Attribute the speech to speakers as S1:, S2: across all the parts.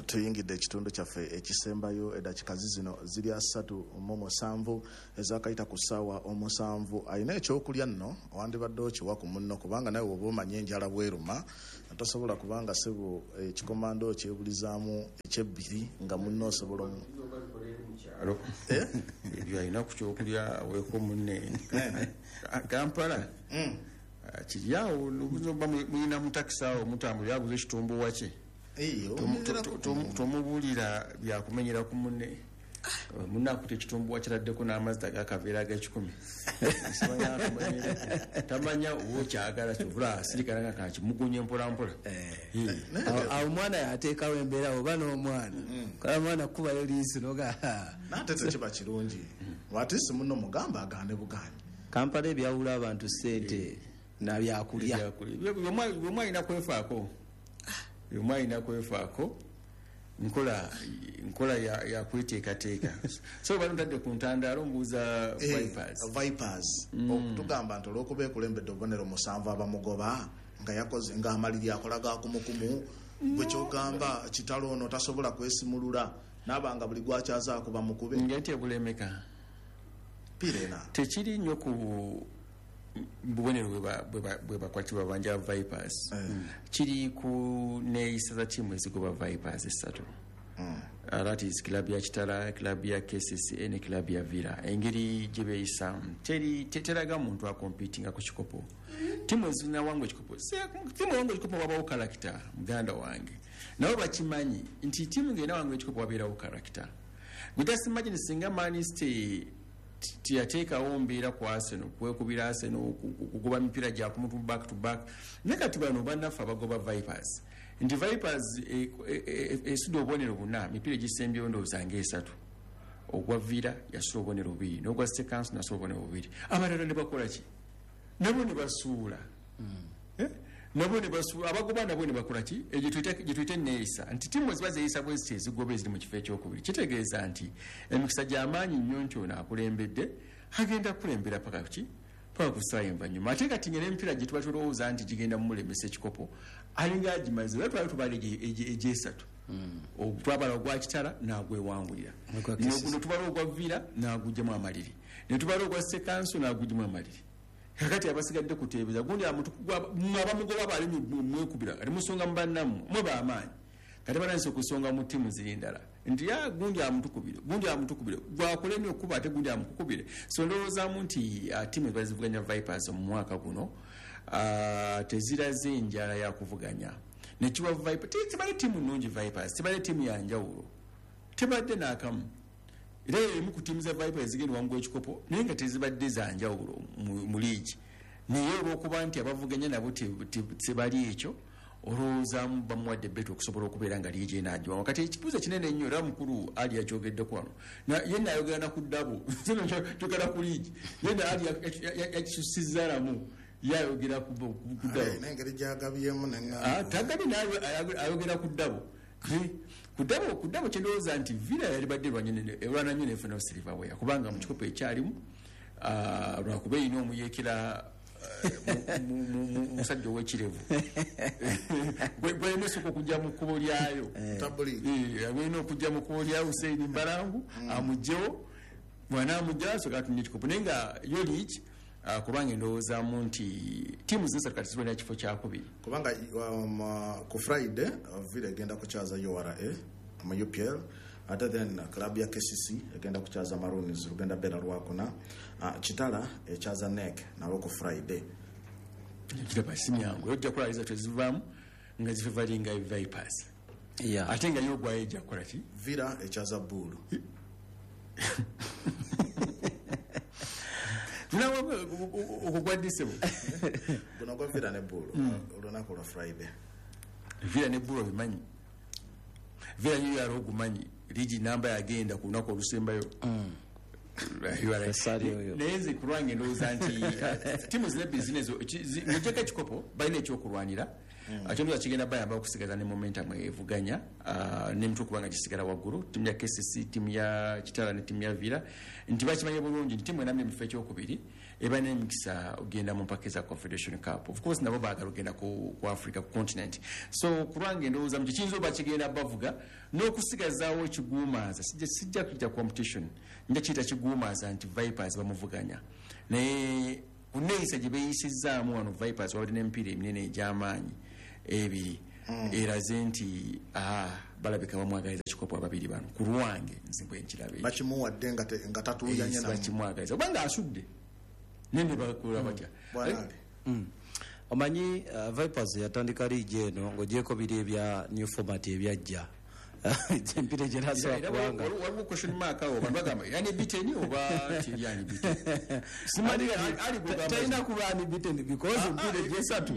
S1: Tuyingidde ekitundu kyaffe ekisembayo. Eddakiika zino ziri 37 ezakayita ku ssaawa 7. Alina ekyokulya nno wandibadde okiwa ku munno, kubanga nawe woba omanye enjala bweruma, tosobola kubanga sebo ekikomando okyebulizaamu ekyebbiri nga munno osobola.
S2: Ebyo alina ku kyokulya aweeko munne. Kampala kiri awo, oba mulina mutakisi awo mutambulira, aguze ekitumbuwa kye, tomubuulira byakumenyera ku munne. Munne akuta ekitumbuwa kiraddeko n'amazzi agakaveera ag'ekikumi, tamanya oba okyagala, kyovula asirikala nga kakimugunye mpolampola.
S3: Awo omwana yateekawo embeera, oba n'omwana kala mwana kubayo liiso noga.
S1: Nate tekiba kirungi, watisi munno mugamba agande buganyi.
S3: Kampala ebyawula abantu sente nabyakulya.
S2: Bwemu alina kwefaako, bwemu alina kwefaako, nkola ya kweteekateeka. So bano ntadde ku ntandaalo mbuuza Vipers.
S1: Vipers okutugamba nti olwokuba ekulembedde obubonero 7, abamugoba nga yakoze ng'amaliri akola gakumukumu, gwe kyogamba kitalo ono tasobola kwesimulula naaba nga buli gwakyazaako bamukube.
S2: Ngenti ebulemeka
S1: pirena.
S2: Tekiri nnyo ku bubonero bwe bakwatibwa banja Vipers, kiri ku neeyisa za ttiimu ezigoba Vipers esatu. That is club ya Kitara, club ya KCCA ne club ya Villa. Engeri gye beeyisaamu teraga muntu acompetinga ku kikopo. Ttiimu ezinawangwa ekikopo, ttiimu ewangwa ekikopo wabawo character. Muganda wange, nabo bakimanyi nti ttiimu ng'enawangwa ekikopo wabeerawo character. Gwe just imagine singa Man City tiyateekawo mbeera ku Arsenal, kwekubira Arsenal, kugoba mipiira gyakumutu back to back. Naye kati bano bannaffe abagoba Vipers, nti Vipers esudde obubonero buna, mipiira egisembyeyo ndowooza ngaesatu. Ogwa Villa yasula obubonero bubiri, n'ogwa City Council nasula obubonero bubiri. Abalala ne bakola ki? Nabo ne basuula. Eh? Nabo ne basuula, abagoba nabo ne bakola ki? Egyo gye tuyita neeyisa, nti ttiimu eziba zeeyisa bwe ziti ezigoba eziri mu kifo ekyokubiri, kitegeeza nti emikisa gy'amaanyi nnyo nti ono akulembedde agenda kukulembera paka ki? Paka ku ssaawa envannyuma. Ate kati nga n'emipiira gye tuba tulowooza nti gigenda mumulemesa ekikopo alinga agimaze, era twali tubala egyesatu. Twabala ogwa Kitara n'agwewangulira,
S3: Ogwa KCC.
S2: ne tubala ogwa Villa n'agugyamu amaliri, ne tubala ogwa Sekanso n'agugyamu amaliri. Kakati abasigadde kuteebeza gundi abamugoba bali mwekubira, kati musonga mu bannammwe mwe bamaanyi. Kati batandise okusonga mu ttiimu ziri ndala nti ya gundi amutukubire, gundi amutukubire, gwakolemye okuba ate gundi amukukubire. So ndowoozaamu nti ttiimu eziba zivuganya Vipers mu mwaka guno teziraze enjala yakuvuganya nekiwa Viper. Tebadde ttiimu nnungi Vipers, tebadde ttiimu yanjawulo, tebadde n'akamu. Era emu ku ttiimu za Viper ezigenda wangula ekikopo, naye nga tezibadde zanjawulo mu liigi, naye olwokuba nti abavuganya nabo tebali ekyo, olowoozaamu bamuwadde betu okusobola okubeera nga liigi enagiwamu. Kati ekibuuzo kinene nnyo, era mukulu Ali yakyogeddeko wano, ye naayogera na ku ddabo kyogera ku liigi, ye Ali yakisusizzaalamu, ye ayogera ku ddabo.
S1: N'engeri gyagabyemu.
S2: Tagabye naye ayogera ku ddabo. Ku ddabo kyendowooza nti Villa yalibadde erwana nnyo nefuna silverware, kubanga mu kikopo ekyalimu, lwakuba erina omuyeekera musajja ow'ekirevu gwalina osooka okujja mu kkubo lyayo. Gwalina okujja mu kkubo lya Huseini Mbalangu, amugjewo. Bwanaamugjawo asooka atunye ekikopo. Naye nga yo liigi, kubanga endowoozaamu nti ttiimu zinsatu kati zirwanira kifo kyakubiri.
S1: Kubanga ku Friday Villa egenda kukyaza URA mu UPL, ate then club ya KCC egenda kukyaza Maroons, lugenda beera lwakuna. Kitala ekyaza NEC nabo ku Friday.
S2: Kiraba si myangu, ojja kulaliza tezivaamu nga zifavoringa Vipers. Ate nga yo ogwayo ejja kukola ki?
S1: Villa ekyaza Buulu.
S2: Okwo gwaddisebo.
S1: Guno gwa Villa ne Buulu, olunaku lwa Friday.
S2: Villa ne Buulu obimanyi, Villa yo yali ogumanyi liigi namba yagenda ku lunaku olusembayo. Naye nze ku lwange ndowooza nti tiimu zina bizinesi ng'ogyeko ekikopo balina ekyokulwanira, ate ndowooza kigenda bayamba okusigaza ne momentum evuganya n'emitwe, kubanga gisigala waggulu. Ttiimu ya KCC, ttiimu ya Kitala ne ttiimu ya Villa, nti bakimanye bulungi nti ttiimu enamye mu kifo ekyokubiri. Eba n'emikisa ogenda mu mpaka eza Confederation Cup. Of course nabo baagala ogenda ku Africa, ku continent. So kulwange ndowooza mu kiyinza oba kigenda bavuga n'okusigazaawo ekiguumaaza. Sijja kujja competition, nja kiyita kiguumaaza nti Vipers bamuvuganya, naye ku neeyisa gye beeyisizzaamu wano Vipers wabadde n'emipiira eminene egy'amaanyi ebiri, eraze nti balabika bamwagaliza kikopo ababiri bano. Ku lwange nze bwe nkiraba ekyo.
S1: Bakimuwadde nga tatuuyanye namu.
S2: Bakimwagaliza obanga asudde nende bakola batya.
S1: Bwana Ali.
S3: Omanyi Vipers yatandika liigi eno ng'ogyeko biri ebya new format ebyajja, empiira egyenasobola
S2: Era
S3: kubanga
S2: waliwo question mark awo, abantu bagamba yani beaten oba teri unbeaten. Simanyi ali kugamba
S3: Talina kuba unbeaten because emipiira egyesatu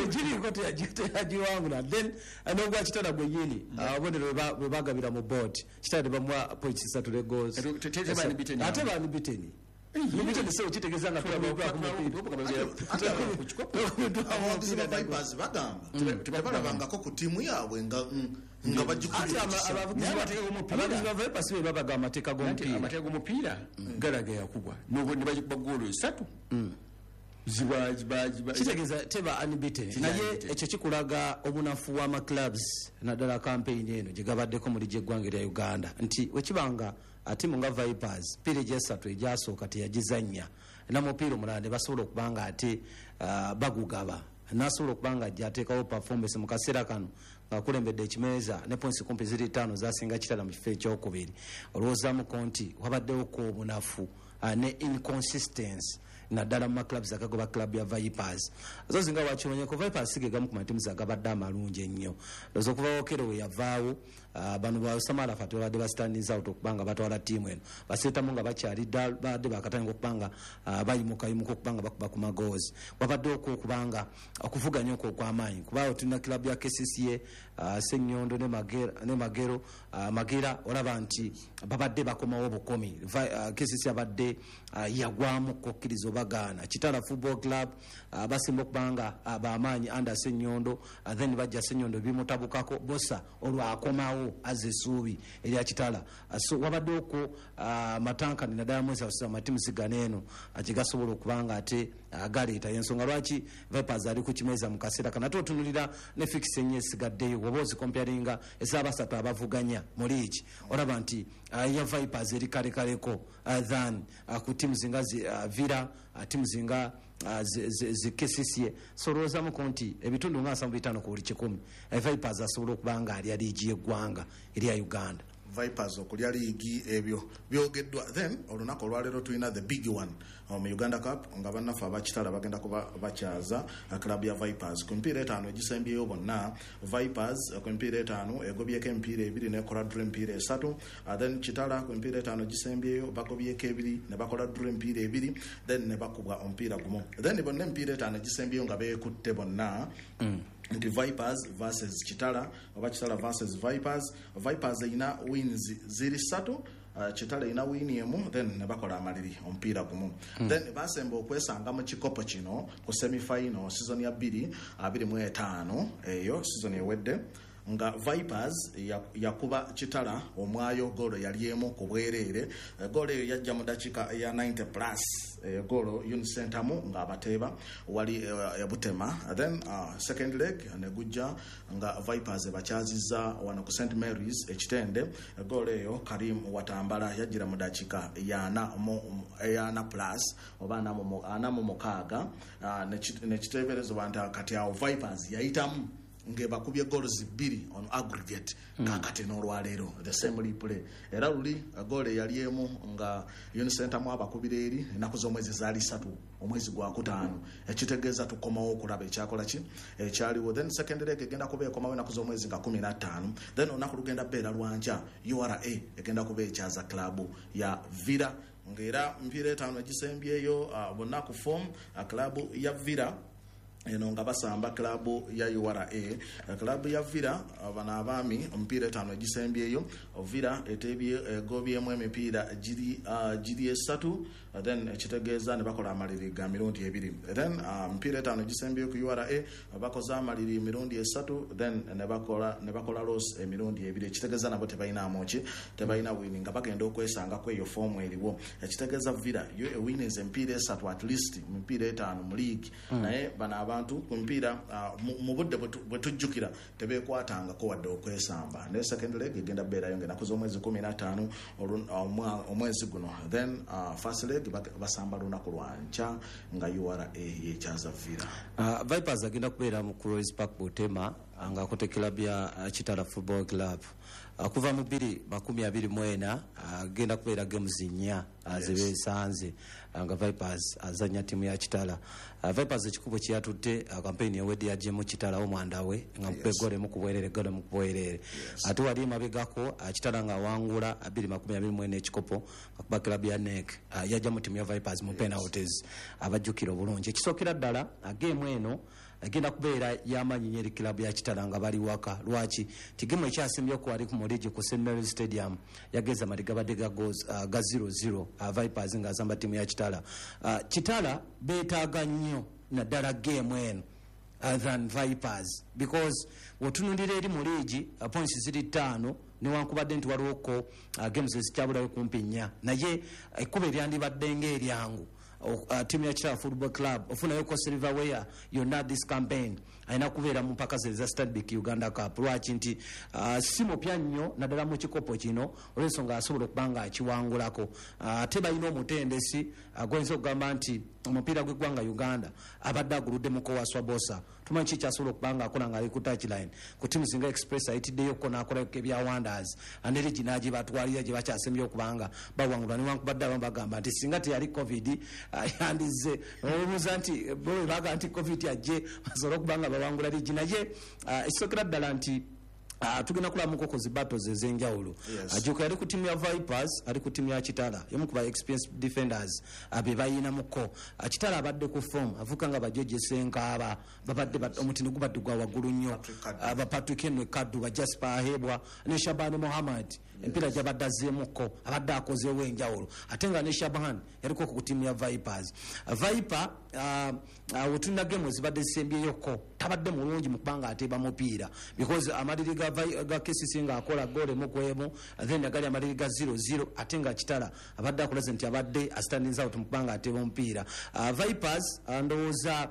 S3: tegiriiko teyagiwangula. Then n'ogwa Kitala gwennyini, obubonero bwe bagabira mu board, Kitala tebamuwa points 3 ne goals.
S2: Teba unbeaten.
S3: Ate ba unbeaten. Unbeaten, so kitegeeza nga tulabaako mupiira.
S1: Abawagizi ba Vipers bagamba tebalabangako ku ttiimu yaabwe nga
S3: Ate
S1: bagikubye ekisa.
S2: Naye amateeka g'omupiira-
S3: Abavugizi ba Vipers be babaga amateeka
S2: Anti
S3: g'omupiira.
S2: Amateeka g'omupiira galaga yakubwa ne bagikuba goolo 3 ziba
S3: Kitegeeza teba unbeaten.
S2: Teba
S3: Naye
S2: unbeaten.
S3: Ekyo kikulaga obunafu bw'amaclubs, naddala campaign eno gye gabaddeko mu ligi eggwanga erya Uganda, nti wekibanga tiimu nga Vipers piira egyesatu egyasooka teyagizannya namupiira omulala ne basobola okuba nga ate bagugaba, nasobola okuba nga ajja ateekawo performance mu kaseera kano ng'akulembedde ekimeeza ne points kumpi ziri 5 zasinga Kitala mu kifo ekyokubiri. Olowoozamuko nti wabaddewoko obunafu ne inconsistency naddala mu maclubs agagoba club ya Vipers. Zo zinga wakimanyeko Vipers sige gamu ku matimu agabadde amalungi ennyo. Ndowooza okuva Okello we yavaawo, bano ba Osama Arafat babadde ba standing out okuba nga batwala ttiimu eno, baseetamu nga bakyali ddala, babadde bakatandika okuba nga bayimukayimuka okuba nga bakuba ku magoozi. Wabadde okwo okuba nga okuvuganya okwo okw'amaanyi, kubaawo tulina club ya KCCA, Ssenyondo ne Magera, ne Magero, Magera, olaba nti babadde bakomawo bukomi. KCCA abadde yagwamu kukkiriza obagaana. Kitala Football Club, basimba okuba nga bamaanyi under Ssenyondo, then bajja Ssenyondo bimutabukako, Bosa olwakomawo azza essuubi erya Kitala. So wabadde okwo matankani naddala mwezi amatimu sigana eno gye gasobola okuba nga ate galeeta ensonga lwaki Vipers ali ku kimeeza mu kaseera kano. Ate otunulira ne fix ennyo esigaddeyo, oba ozikompearinga ez'abasatu abavuganya mu liigi, olaba nti ya Vipers eri kalekaleko than ku tiimu zinga Villa, tiimu zinga zi KCCA. So olowoozamuko nti ebitundu nga 75 ku buli kikumi, Vipers asobola okuba nga alya liigi y'eggwanga erya Uganda.
S1: Vipers okulya liigi ebyo byogeddwa. Then olunaku olwaleero tulina the big one mu Uganda Cup, nga bannaffe abakitala bagenda kuba bakyaza club ya Vipers ku mipiira 5 egisembyeyo bonna. Vipers ku mipiira 5 egobyeko emipiira 2 nekola draw emipiira 3. Then Kitala ku mipiira 5 egisembyeyo bagobyeko 2 ne bakola draw emipiira 2, then ne bakubwa omupiira gumu. Then bonna emipiira 5 egisembyeyo nga beekutte bonna, nti Vipers versus Kitala oba Kitala versus Vipers, Vipers erina wins ziri 3, Kitala erina win 1, then ne bakola amaliri omupiira gumu. Then basemba okwesanga mu kikopo kino ku semifinal season ya 2025, eyo season ewedde, nga Vipers yakuba Kitala omwayo goolo yali emu ku bwereere. Goolo eyo yajja mu dakiika ya 90 plus, goolo Unicentamu ng'abateeba wali ebutema. Then second leg ne gujja nga Vipers ebakyazizza wano ku St Mary's Ekitende. Goolo eyo Karim Watambala yajjira mu dakiika yana plus oba 46, nekiteeberezebwa nti kati awo Vipers yayitamu ng'ebakubye goals 2 on aggregate. Kakati n'olwaleero the same replay, era luli goal eyali emu nga Unicentamu abakubira eri ennaku z'omwezi zaali 3 omwezi gwa 5, ekitegeeza tukomawo okulaba ekyakola ki ekyaliwo. Then second leg egenda kuba ekomawo ennaku z'omwezi nga 15. Then olunaku lugenda beera lwankya, URA egenda kuba ekyaza club ya Villa, ng'era mpiira 5 egisembyeyo bonna ku form, club ya Villa Eno nga basamba klabu ya URA, klabu ya Villa. Bano abaami omupiira etaano egisembyeyo, Villa etebye, egobyemu emipiira giri esatu, then ekitegeeza ne bakola amaliri ga mirundi ebiri. Then emipiira etaano egisembyeyo ku URA bakoze amaliri emirundi esatu, then ne bakola loss emirundi ebiri, ekitegeeza nabo tebalinamu ki, tebalina win, nga bagenda okwesangako eyo form eriwo. Ekitegeeza Villa yo ewinninze emipiira esatu at least mu mipiira etaano mu league, naye bano abantu ku mipiira mu budde bwe tujjukira tebeekwatangako wadde okwesamba. Naye second leg egenda beerayo ngaenaku z'omwezi 15 omwezi guno. Then first leg basamba lunaku lwankya nga URA yekyaza Villa.
S3: Vipers agenda kubeera mu Rose Park Butema ng'akote club ya Kitara Football Club. Kuva mu 2024 agenda kubeera games nnya zebeesanze nga Vipers azanya timu ya Kitara. Vipers ekikubo kyeyatutte campaign ewedde yaggyemu Kitara omwandawe nga mukuba eggolo emu ku bwerere, eggolo emu ku bwerere. Ate wali emabegako Kitara ng'awangula 2024 ekikopo akuba club ya NEC, yajja mu timu ya Vipers mu penalties, abajjukira obulungi. Ekisookera ddala, game eno egenda kubeera y'amaanyi nnyo eri club ya Kitara nga bali waka. Lwaki? Ti game ekyasimbyeku wali ku muligi ku St Mary Stadium yageza mali gabadde ga goals ga 0-0, Vipers ng'asamba ttiimu ya Kitara. Kitara beetaaga nnyo naddala game eno than Vipers, because wotunulira eri mu liigi, points ziri ttaano, newankubadde nti waliwoko games ezikyabulayo kumpi nnya, naye ekkubo eryandibadde ng'eryangu tiimu ya Kitara Football Club ofunayoko silverware yonna this campaign alina kubeera mu mpaka ze eza Stanbic Uganda Cup. Lwaki? Nti si mupya nnyo naddala mu kikopo kino, olw'ensonga asobola okuba nga akiwangulako. Ate balina omutendesi goyinza okugamba nti omupiira gw'eggwanga Uganda abadde aguluddemuko, Waswa Bosa. Tumanyi ki kyasobola okuba nga akola nga ali ku touchline ku tiimu singa Express ayitiddeyoko n'akolako ebya wonders, ne ligi n'agibatwalira gye bakyasembye okuba nga bawangulwa, newankubadde abamu bagamba nti singa teyali COVID yandize obuuza nti bo bwe bagamba nti COVID ajje basobole okuba nga bawangula ligi. Naye ekisookera ddala nti tugenda kulamuko ku zi battles ez'enjawulo. Ajuka yali ku tiimu ya Vipers, ali ku tiimu ya Kitara, yomu ku ba experienced defenders be bayinamuko. Kitara abadde ku form, avuka nga bajoje Senkaaba babadde omutindo gubadde gwa waggulu nnyo.
S1: Patrick Kaddu.
S3: Ba Patrick Henry Kaddu, ba Jasper Ahebwa ne Shaban Muhammad, empiira gyabadde azzeemuko abadde akozeewo enjawulo, ate nga ne Shaban yaliko ku tiimu ya Vipers. Viper wetulina game ezibadde zisembyeyoko tabadde mulungi mu kubanga ateeba mupiira, because amaliri ga KCC ng'akola goal emu ku emu, then agali amaliri ga 0-0, ate nga Kitara abadde akolaze nti abadde astanding out mu kubanga ateeba omupiira. Vipers ndowooza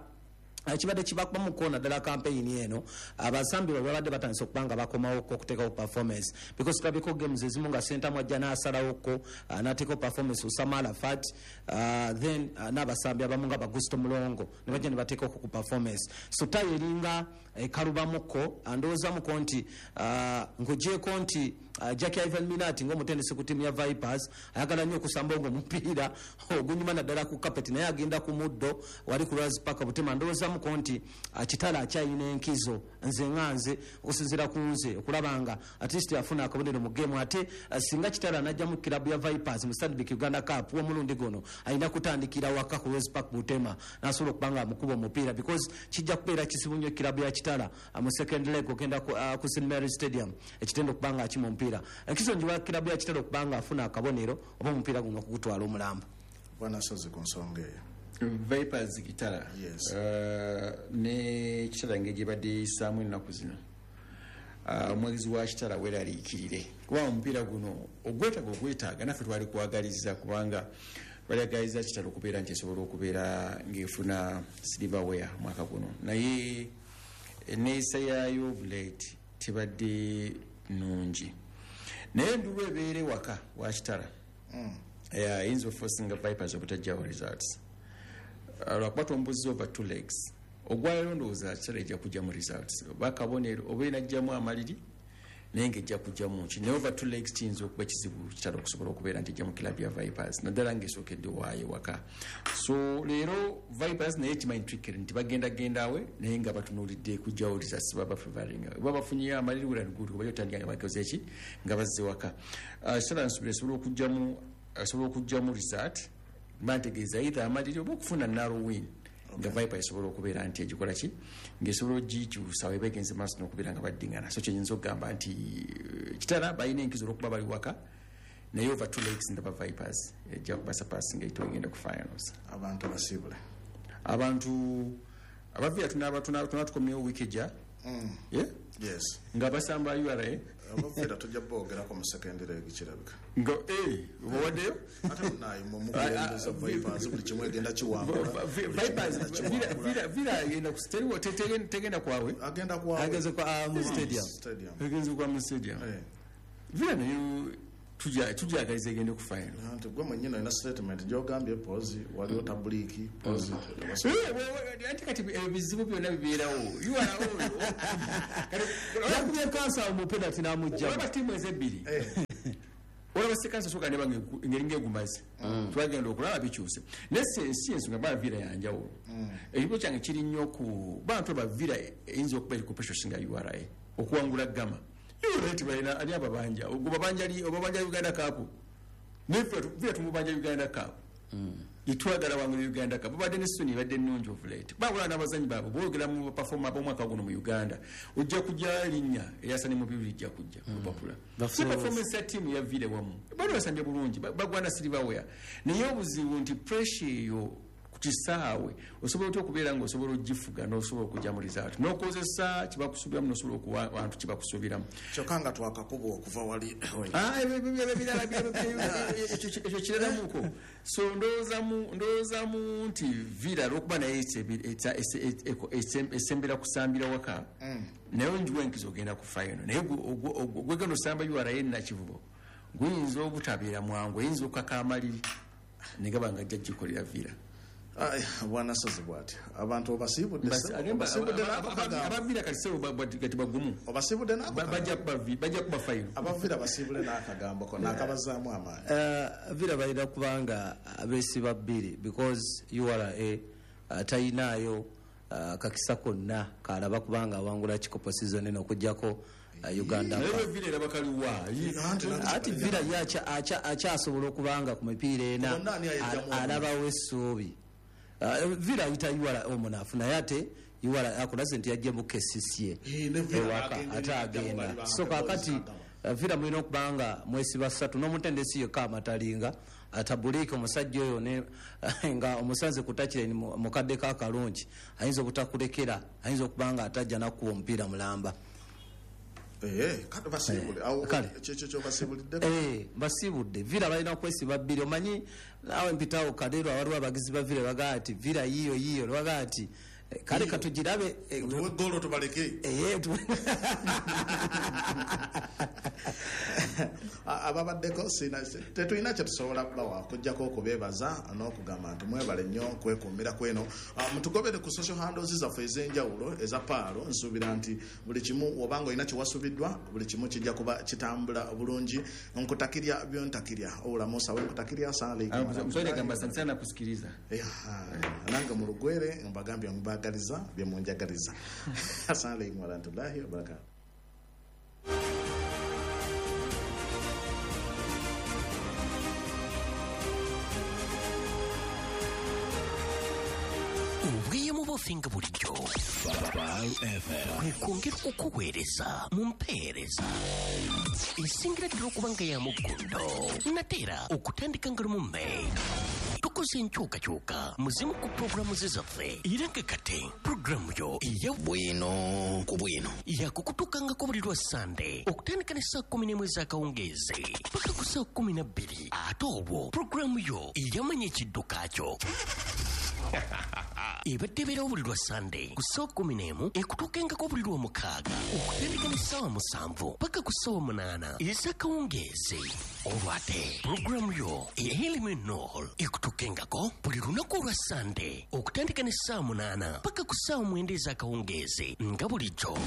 S3: kibadde kibakubamuko naddala campaign eno, abasambi baabwe babadde batandise okuba nga bakomawoko okuteekawo performance, because tulabiko games ezimu nga Sentamu ajja n'asalawoko n'ateekawo performance, Usama Arafat, then n'abasambi abamu nga Bagusto Mulongo ne bajja ne bateekako ku performance. So tayo eringa ekalubamuko. Ndowoozamuko nti ng'ogyeko nti Jackie Ivan Minati ng'omutendesi ku ttiimu ya Vipers ayagala nnyo okusamba ng'omupiira ogunyuma naddala ku carpet, naye agenda ku muddo wali ku Rose Park Butema. Ndowoozamuko nti Kitara akyalina enkizo, nze nga nze okusinziira ku nze okulaba nga at least afuna akabonero mu game. Ate singa Kitara anajja mu kilabu ya Vipers mu Stanbic Uganda Cup w'omulundi guno, alina kutandikira waka ku Rose Park Butema n'asobola okuba nga amukuba omupiira, because kijja kubeera kizibu nnyo kilabu ya Kitara mu second leg ogenda ku St Mary Stadium ekitendo okuba nga akima omupiira. Enkizo njiwa kilabu ya Kitara okuba nga afuna akabonero oba omupiira guno okugutwala omulamba.
S1: Bwana Sozi, ku nsonga eyo.
S2: Vipers Kitara.
S1: Yes.
S2: Ne Kitara engeri gyebadde yisaamu ennaku zino, omwegezi wa Kitara weeraliikirire, kuba omupiira guno ogwetaaga, ogwetaaga. Naffe twali kwagaliza, kubanga twali Kitara okubeera nti esobola okubeera ng'efuna silverware mwaka guno, naye eneeyisa yaayo of late tebadde nungi. Naye endulu ebeera ewaka wa Kitara ayinza oforcinga Vipers obutajjawo results. Lwakuba tombuzi over two legs, ogwaleero ndowooza Kitara ejja kujjamu results oba akabonero oba enajjamu amaliri, naye ngaejja kujjamu ki. Naye over two legs kiyinza okuba kizibu Kitara okusobola okubeera nti ejja mu kilabu ya Vipers, naddala ngaesookedde waayo waka. So leero Vipers naye kimanyi trickery nti bagenda gendawe, naye nga batunuulidde kujjawo results, baba favoring oba bafunyeyo amaliri well and good, kuba otandika nga bakoze eki nga bazze waka. Kitara nsubira esobola okujjamu result, mba ntegeeza either amaliri oba okufuna narrow win. Nga Viper esobola okubeera nti egikola ki, ng'esobola ogikyusa weba egenze maaso n'okubeera nga baddingana. So kyenyinza okugamba nti Kitara balina enkizo olwokuba bali waka, naye over two legs ndaba Vipers ejja kubasurpass nga egenda ku finals.
S1: Abantu basiibule.
S2: Abantu abaviira tunaba tukomyewo wiiki ejja. Yeah?
S1: Yes.
S2: Nga basamba URA.
S1: Abaviira tujja boogerako mu second leg kirabika.
S2: Nga obawaddeyo?
S1: Ate munaye mwe mukulembeza Vipers buli kimu egenda kiwangula.
S2: Vipers, Villa egenda ku tegenda kwawe.
S1: Agenda kwawe.
S3: Agenze kwa mu stadium.
S1: Stadium.
S2: Agenze kwa mu stadium. Villa nayo tujagaliza egende ku final.
S1: Anti gwe mwennyini olina statement gy'ogambye pozi waliwo tabuliiki pozi.
S2: Anti kati ebizibu byonna bibeerawo.
S3: Yakubye kansa mu penalty n'amugjamu.
S2: Olaba ttiimu ezebbiri. Olaba sekansa soka ne bange ngeri ng'egumaze. Twagenda okulaba bikyuse. Naye si ensonga ba Villa yanjawulo. Ekibuzo kyange kiri nnyo ku bantu ba Villa eyinza okuba eri ku pressure singa URA okuwangula Gama. URA tibalina ani ababanja ogubabanja li obabanja Uganda Cup. Neffe Villa tumubanja Uganda Cup. Itwagala wangula Uganda Cup. Babadde ne Sony badde nnungi of late. Bagula n'abazanyi baabwe boogera mu performer ab'omwaka guno mu Uganda. Ojja kujja linnya erya mu bibiri lijja kujja kupapula. Si performance ya ttiimu ya Villa wamu. Bali basambye bulungi bagwana silverware. Naye obuzibu nti pressure eyo ku kisaawe osobola otya okubeera ng'osobola ogifuga n'osobola okujja mu result n'okozesa kibakusuubiramu n'osobola okuwa abantu kibakusuubiramu.
S1: Kyokka nga twakakuba okuva wali.
S2: Ebirala ekyo kiralamuko. So ndowoozamu nti Villa olw'okuba naye esembera kusambira waka, naye njiwa enkizo ogenda ku final. Naye gwegenda osamba URA Nakivubo guyinza obutabeera mwangu, oyinza okukaka amaliri negaba nga ajja gikolera Villa.
S1: Bwana Sozi bw'ati abantu obasiibudde
S2: abavira kati sebo kati bagumu
S1: obasiibudde
S2: bajja kuba final.
S1: Abavira basiibule n'akagambo ko n'akabazaamu amaanyi.
S3: Villa balina kubanga abeesiba bbiri because URA tayinaayo kakisa konna kalaba kubanga awangula kikopo season eno okuggyako Uganda. Ati Villa ye akyasobola okubanga ku mipiira ena alabawo essuubi. Villa ayita URA omunafu naye ate URA akulaze nti yajja mu KCCA ewaka ate agenda. So kakati Villa mulina okubanga mwesiba ssatu n'omutendesi yekka amatalinga atabuliike omusajja oyo nga omusanze kutakira mukadde k'akalungi ayinza obutakulekera, ayinza okubanga atajja nakuwa omupiira mulamba.
S1: Kale basiibule. Kyekyo kyobasiibulidde?
S3: Basiibudde. Villa balina kwesiba bbiri. Omanyi naawe mpitawo Kaleero awaliwo abagizi ba Villa bagaa nti Villa yiyo yiyo bagaa nti kale katugirabe
S1: tuwe ggoolo tubaleke. Ababaddeko tetulina kye tusobola kubawa okuggyako okubeebaza n'okugamba nti mwebale nnyo kwekuumira kweno. Mutugobere ku social handles zaffe ez'enjawulo eza Paalo. Nsuubira nti buli kimu obanga olina kyewasuubiddwa buli kimu kijja kuba kitambula bulungi. Nkutakirya byontakirya obulamu sawe nkutakirya
S2: gamba asante sana kusikiliza.
S1: Nange mu lugwere mbagambye mbagaliza bye munjagaliza. Assalamu alaikum warahmatullahi wabarakatuh.
S4: Obweyamo bwaffe nga bulijjo kwe kwongera okukuweereza mu mpeereza esingira ddala okuba nga ya muggundo nateera okutandika nga lumu May. Tukoze enkyukakyuka mu zimu ku pulogulaamu ze zaffe era nga kati pulogulaamu yo eya bwino ku bwino yakukutuukangako buli lwa Sande okutandika ne ssaawa 11 ez'akawungeezi paka ku ssaawa 12. Ate olwo pulogulaamu yo eyamanya ekidduka kyo ebadde ebeerawo buli lwa Sande ku ssaawa 11 ekutuukengako buli lwa mukaaga okutandika ne ssaawa 7 paka ku ssaawa 8 ez'akawungeezi. Olwo ate pulogulaamu yo ey'Eliminol ekutuukengako buli lunaku olwa Sande okutandika ne ssaawa 8 paka ku ssaawa 9 ez'akawungeezi nga bulijjo.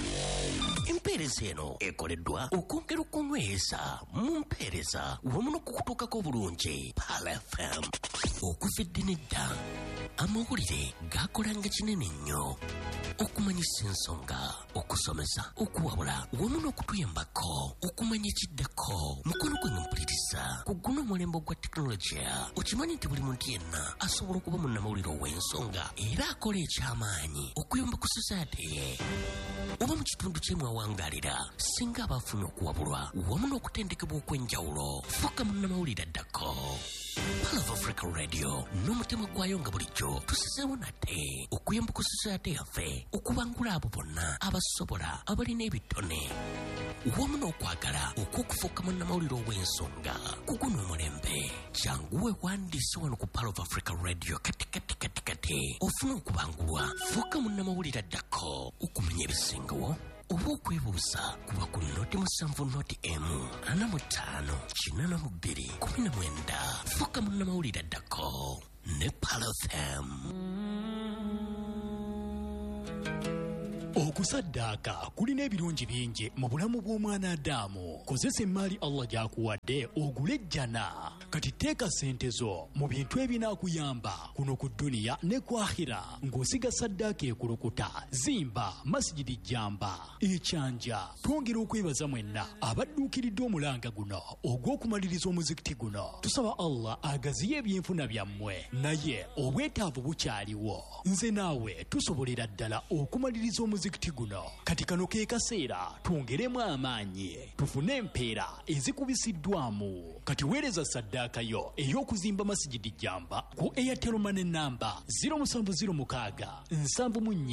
S4: Empeereza eno ekoleddwa okwongera okunyweza mu mpeereza wamu n'okukutuukako obulungi. Pearl FM okuva edda n'edda amawulire gakolanga kinene nnyo. Okumanyisa ensonga, okusomesa, okuwabula wamu n'okutuyambako okumanya ekiddako. Mukono gwange mpuliriza, ku guno omulembe ogwa tekinologiya, okimanyi nti buli muntu yenna asobola okuba munnamawulire ow'ensonga era akola ekyamaanyi okuyamba ku society ye oba mu kitundu kye mwawangalira, singa aba afunye okuwabulwa wamu n'okutendekebwa okw'enjawulo. Fuuka munnamawulire addako. Pearl of Africa Radio n'omutima gwayo nga bulijjo tusizeewo nate okuyamba ku society yaffe okubangula abo bonna abasobola, abalina ebitone wamu n'okwagala okw'okufuuka munnamawulire ow'ensonga ku guno omulembe. Jangu weewandiise wano ku Pearl of Africa Radio kati kati kati kati ofune okubangulwa. Fuuka munnamawulire addako. Okumanya ebisingawo oba okwebuuza, kuba ku 070 0 45 82 19. Fuuka munnamawulire addako ne Pearl FM.
S5: Okusaddaaka kulina ebirungi bingi mu bulamu bw'omwana Adamu. Kozesa emmaali Allah gy'akuwadde ogule ejjana. Kati teeka ssente zo mu bintu ebinaakuyamba kuno ku dduniya ne ku akhira ng'osiga saddaaka ekulukuta. Zimba Masigidi Jamba Ekyanja. Twongera okwebaza mwenna abadduukiridde omulanga guno ogw'okumaliriza omuzikiti guno. Tusaba Allah agaziye ebyenfuna byammwe, naye obwetaavu bukyaliwo. Nze naawe tusobolera ddala okumaliriza omuzikiti guno. Kati kano ke kaseera twongeremu amaanyi tufune empeera ezikubisiddwamu. Kati weereza saddaaka yo ey'okuzimba Masigidi Jamba ku Airtel Money namba 0706 74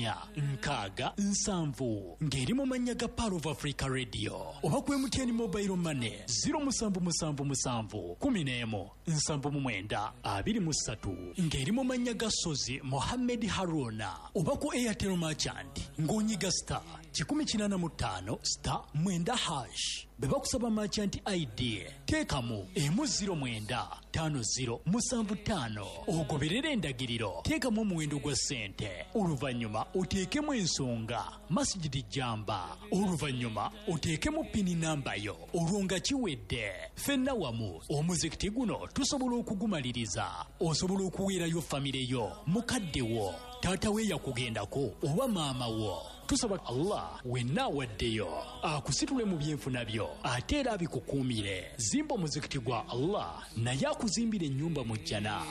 S5: 60 70 ng'eri mu mannya ga Pearl of Africa Radio, oba ku MTN Mobile Money 0777 11 79 23 ng'eri mu mannya ga Sozi Mohammed Haruna, oba ku Airtel Merchant ng'onyiga star 185 star 9 hash. Bwe bakusaba merchant ID, teekamu 1 09 50 75, ogoberere endagiriro, teekamu omuwendo gwa ssente, oluvannyuma oteekemu ensonga Masigidi Jamba, oluvannyuma oteekemu pini namba yo, olwo nga kiwedde. Ffenna wamu omuzikiti guno tusobola okugumaliriza. Osobola okuweerayo famire yo, mukadde wo, taata we yakugendako oba maama wo. Tusaba Allah wenna awaddeyo akusitule mu byenfuna byo ate era abikukuumire. Zimba omuzikiti gwa Allah naye akuzimbira ennyumba mu jjana.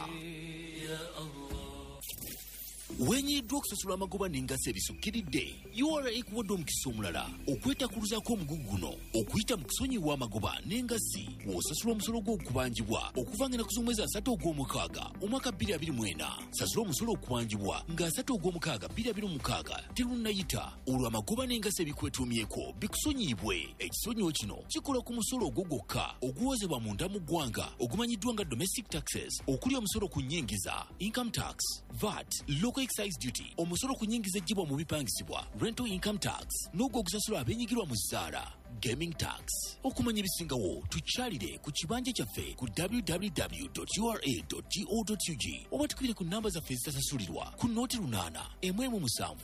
S6: Wenyiddwa okusasula amagoba n'engassi ebisukkiridde? URA ekuwadde omukisa omulala okwetakuluzaako omugugu guno okuyita mu kusonyiwa amagoba n'engassi w'osasula omusolo gw'okubanjibwa okuva nga ennaku z'omwezi 30 ogw'omukaaga omwaka 2024. Sasula omusolo okubanjibwa nga 30 ogw'omukaaga 2026 terunnayita, olwo amagoba n'engassi ebikwetuumyeko bikusonyiyibwe. Ekisonyiwo kino kikola ku musolo ogwo gwokka oguwozebwa munda mu ggwanga ogumanyiddwa nga domestic taxes, okuli omusolo ku nnyingiza, income tax, VAT, local excise duty, omusolo ku nnyingiza eggyibwa mu bipangisibwa, rental income tax, n'ogwo ogusasula abeenyigirwa mu zzaala, gaming tax. Okumanya ebisingawo, tukyalire ku kibanja kyaffe ku www.ura.go.ug oba tukubire ku namba zaffe ezitasasulirwa ku 08 17 0 0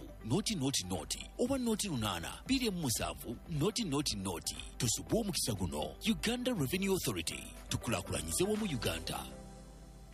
S6: oba 08 27 0 0. Tusubwe omukisa guno. Uganda Revenue Authority, tukulaakulanyize wamu Uganda.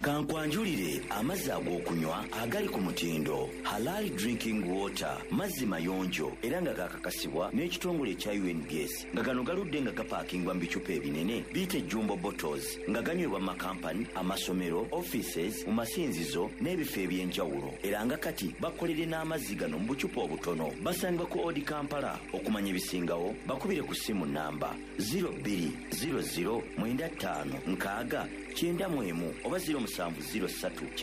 S7: Kankwanjulire amazzi ag'okunywa agali ku mutindo, Halal Drinking Water. Mazzi mayonjo era nga gakakasibwa n'ekitongole ekya UNBS, nga gano galudde nga gapaakingwa mu bicupa ebinene biyite jumbo bottles, nga ganywebwa mu makampani, amasomero, offices, mu masinzizo n'ebifo eby'enjawulo. Era nga kati bakolere n'amazzi gano mu bucupa obutono. Basangibwa ku Odi Kampala. Okumanya ebisingawo, bakubire ku ssimu namba 0200 95 6 91 oba 0703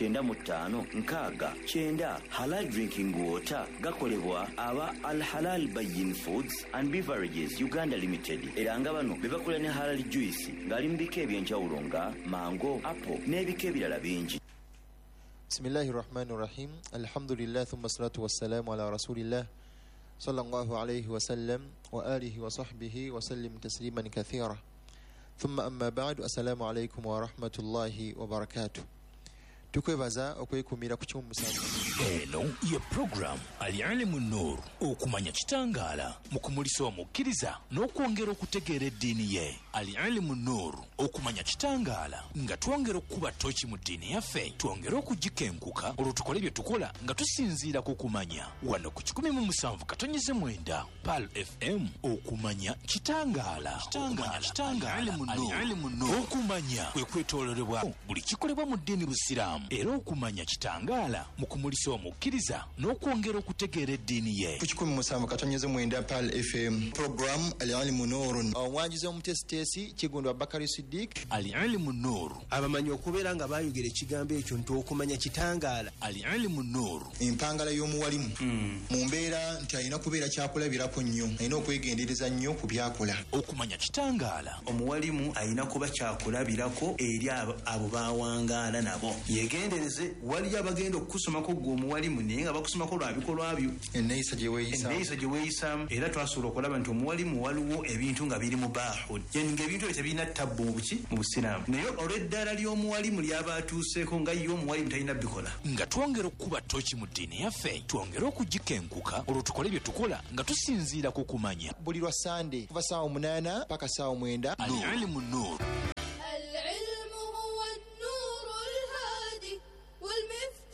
S7: 95 6 90. Halal Drinking Water gakolebwa aba Al Halal Bayin Foods and Beverages Uganda Limited, era nga bano be bakola ne halal juice ng'ali mu bika eby'enjawulo nga mango, apple n'ebika ebirala bingi.
S8: Bismillahi rahmani rahim. Alhamdulillah, thumma salatu wassalamu ala rasulillah sallallahu alayhi wasallam wa alihi wa sahbihi wasallim tasliman kathira, thumma amma ba'du. Assalamu alaikum wa rahmatullahi wa barakatuh. Tukwebaza okwekumira ku 17.
S6: Eno ye program Al-Ilimu Nur, okumanya kitangaala mu kumulisa omukkiriza n'okwongera okutegeera eddiini ye. Al-Ilimu Nur, okumanya kitangaala nga twongera okukuba toki mu ddiini yaffe, twongere okugikenkuka olwo tukole bye tukola nga tusinziira ku kumanya. Wano ku 107.9 Pearl FM, okumanya kitangaala. Al-Ilimu Nur, okumanya kwe kwetooloolebwa buli kikolebwa mu ddiini Busiraamu, era okumanya kitangaala mu kumulisa omukkiriza n'okwongera okutegeera eddiini ye.
S8: Ku 107.9 Pearl FM, program Al-Ilimu Nur. Omwanjuzi omutesiteesi Kiggundu Abubakari Siddiq.
S6: Al-Ilimu Nur,
S9: abamanyi okubeera nga bayogera ekigambo ekyo nti okumanya kitangaala.
S6: Al-Ilimu Nur,
S8: empangala y'omuwalimu mu mbeera nti alina kubeera kyakulabirako nnyo, alina okwegendereza nnyo ku byakola.
S6: Okumanya kitangaala.
S9: Omuwalimu alina kuba kyakulabirako eri abo bawangaala nabo. Yegendereze, waliyo abagenda okukusomako gwe omuwalimu naye nga bakusomako lwa bikolwa byo,
S8: enneeyisa gye
S9: weeyisaamu. Era twasobola okulaba nti omuwalimu waliwo ebintu nga biri mubaahu, yani ng'ebintu ebyo tebirina tabbu mu buki mu busiraamu, naye olw'eddaala ly'omuwalimu ly'aba atuuseeko nga ye omuwalimu talina bikola.
S6: Nga twongera okukuba toki mu ddiini yaffe, twongere okugikenkuka olwo tukole bye tukola nga tusinziira ku kumanya.
S8: Buli lwa Sande kuva 8:00 paka 9:00.
S6: Al-Ilimu Nur.